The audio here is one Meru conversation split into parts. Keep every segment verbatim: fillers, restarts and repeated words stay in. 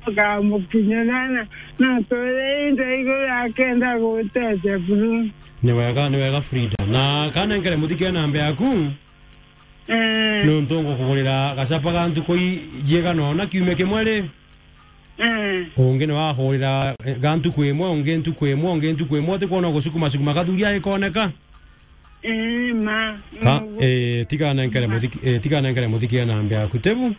Kamukinya na, na, na tore inda iguru akenda gutete buru. Ni wega, ni wega Frida. Na kana nkere muthike namba yaku? Eh. Nontu ngukugurira gacapa ga ntuku i-, jiega nona kiumia kimwe ri? Eh. Ungi ni wakugurira, eh, ga ntuku imwe, ungi ntuku imwe, ungi ntuku imwe, utikwona gucukuma cukuma kathuri aikoneka? Eh, ma. Ka, mm, eh, tiga nenkere muthiki, eh, tiga nenkere muthiki namba yaku, tibu?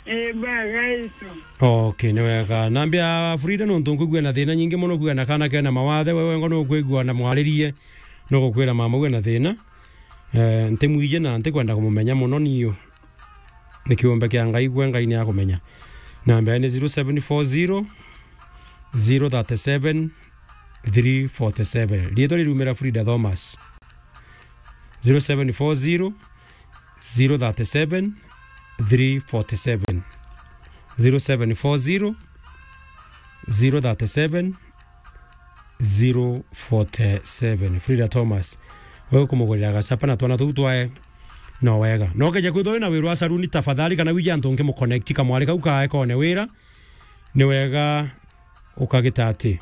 Eh, baga itu. Okay, ni wega. Namba ya Frida nontu nkwigua na thina nyingi mono, kwigua na kana kena mawathe, wewe ngo nukwigua na mwaririe, nugukwira mama we na thina. Eh, ntimwije na ntikwenda kumumenya mono niu. Ni kiumbe kia Ngai, gwe Ngai ni akumenya. Namba ni zero seven four zero, zero thirty seven, three forty seven. Riitwa rirumira Frida Thomas. Zero seven four zero, zero thirty seven, three forty seven. Zero seven four zero, zero thirty seven, zero forty seven. Frida Thomas. Wewe kumugurira gacapa na twana tuu twae, no wega. No keja kwithwa wina wiru wa saruni, tafadhali, kana wije antu nkimuconnect kamwari kau kaekone wira, ni wega ukagita ati,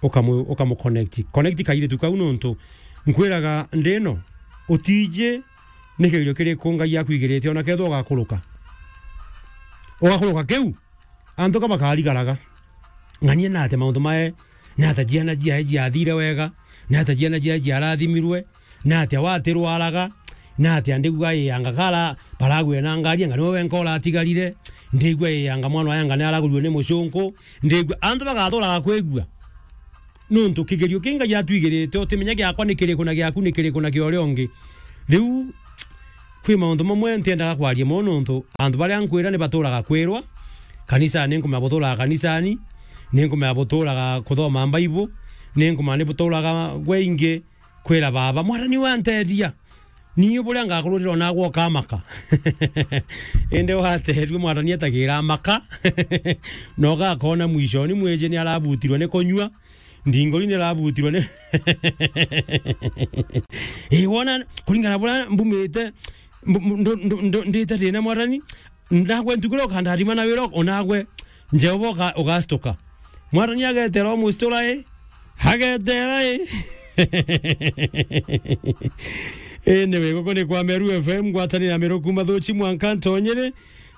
ukamu-, ukamuconnect. Connect kairitu kau nontu nkwiraga ndino, utiji ni kigerio kiriku Ngai akwigirite, ona kethwa ugakuruka. Ugakuruka kiu, antu ka bakarigaraga. Ng'ania nate maundu mae, nata ciana ciae ciathire wega, nata ciana ciae ciarathimirwe, nata watirwaraga, nata ndigua iyanga kara baragwire na ngari, anga niwe wenka uratigarire, ndigua iyanga mwana wa yanga ni aragurue ni mucunku, ndigua antu bagaturaga kwigua. Nontu kigerio ki Ngai atwigirite, utimenya giakwa ni kiriku na giaku ni kiriku na kia uria ungi. Riu, kwi maundu mamwe ntiendaga kwaria mono nontu antu baria nkwira ni baturaga kwirwa. Kanisani, ni nkumenya buturaga kanisani, ni nkumenya buturaga kuthoma Bible, ni nkumenya ni buturaga gwe ingi kwira baba, "Mwathani wanteethia." Niu buria ngakururira onagwe ukamaka. Indi wateerue Mwathani atagira maka. Na ugakona mwishoni mwiji ni arabutirwe ni kunyua. Ndingori ni arabutirwe ni. Ii, wona kuringana buria mbumite, mbu-, mbu-, ndu-, ndu-, ndu-, ndite thina Mwathani, ndagwe ntuku iria ukandarima na wira onagwe Jehova uga-, ugastuka. Mwathani agetera umusturai, agetera i. Ii, ni wiguku ni kwa Meru F M, ngwatanira Meru kuma Thuchi mwanka Ntonyere.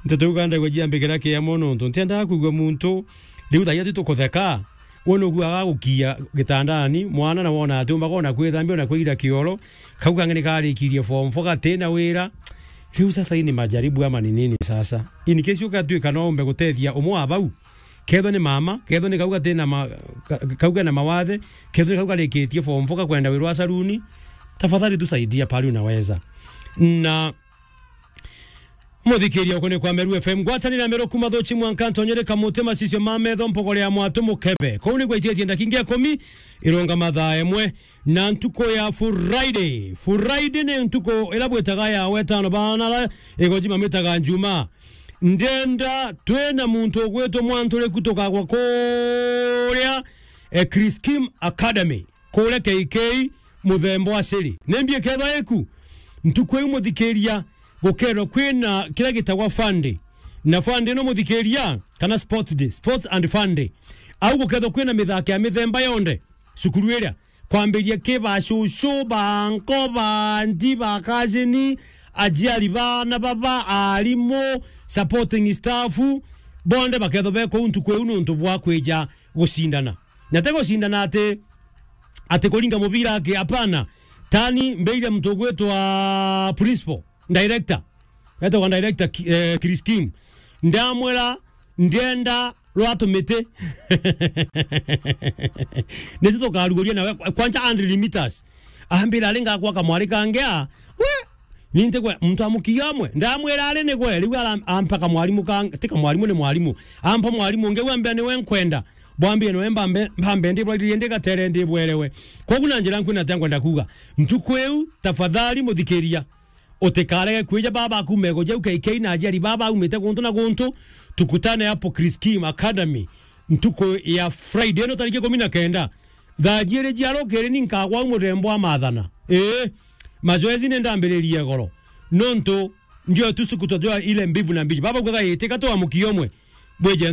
Nteto iu kandagwa jiambikira kiamo nontu ntiendaga kwigua muntu riu thaia tu tukutheka. We nuguaga gukia gitandani, mwana na wona ati umbaga ona kwithambia, ona kwira kioro. Kau kangi ni karikirie form four gati na wira. Riu sasa, ii ni majaribu ama ni nini sasa? In case ukatuika no umbe gutethia umwe wa bau, kethwa ni mama, kethwa ni kau gati na ma-, ka-, kau kena mawathe, kethwa ni kau karikitie form four gakwenda wirwa saruni, tafadhali tusaidia pahali unaweza. Na muthikiria uku ni kwa Meru F M, ngwatanira Meru kuma Thuchi mwanka Ntonyere, Kamuti, Macicio ma Metho, Mpogore ya Mwatu, Mukebe. Kuu ni gwaititie ndakingi ikumi irunga mathaa imwe. Na ntuku ya Friday. Friday ni ntuku ila bwitaga ya wetano, bana la igoji mamitaga Njuma. Ndenda twina muntu ugwitwo Mwanturiku tukagwa kuria, eh, Chris Kim Academy, kuria K K muthemba wa Siri. Ni mbi ikethwa iku? Ntuku iu muthikiria, gukerwa kwina kira gitagwa fun day. Na fun day no muthikiria, kana sports day, sports and fun day. Au gukethwa kwina mithako ya mithemba yonthe cukuru iria. Kwambiria ki ba cucu, ba nko, ba ndi, ba kazini, aciari bana baba, arimu, supporting staff, bonthe bakethwa be kuu ntuku iu nontu bwa kwija gucindana. Na ti gucindana ati, ati kuringa mubira aki, apana. Tani mbeire muntu ugwitwa principal, director. Etagwa director Ki-, eh, Chris Kim. Ndamwira, ndienda rwa tumiti. Nicio tukaruguria nawe, kwanja hundred meters. Ambira, ari ngakwa kamwari kangi a, we, ni ntigwe, muntu amukia umwe. Ndamwira, ari nigwe, riu ara-, ampa kamwarimu kang-, ti kamwarimu, ni mwarimu. Ampa mwarimu ungi, we ambia niwe nkwenda. Bwambie niwe mbambe, mbambe, ndi bwairie, ndi gatere, ndi bwerewe. Kogu na njira nkwina tia nkwenda kuuga. Ntuku iu, tafadhali muthikiria. Utikarege kwija baba akume gujau K K na aciari baba aumite guntu na guntu. Tukutane hapo Chris Kim Academy ntuku ya Friday ino tariki ikumi na kenda. Thaa jiiri cia rukiri ni nkagwa au muthemba wa mathana. Ii, mazoezi ni ndambiririe goro. Nontu ndio tu suku tujua ile mbivu na mbichi. Baba ugaga itika tu amukie umwe. Bwije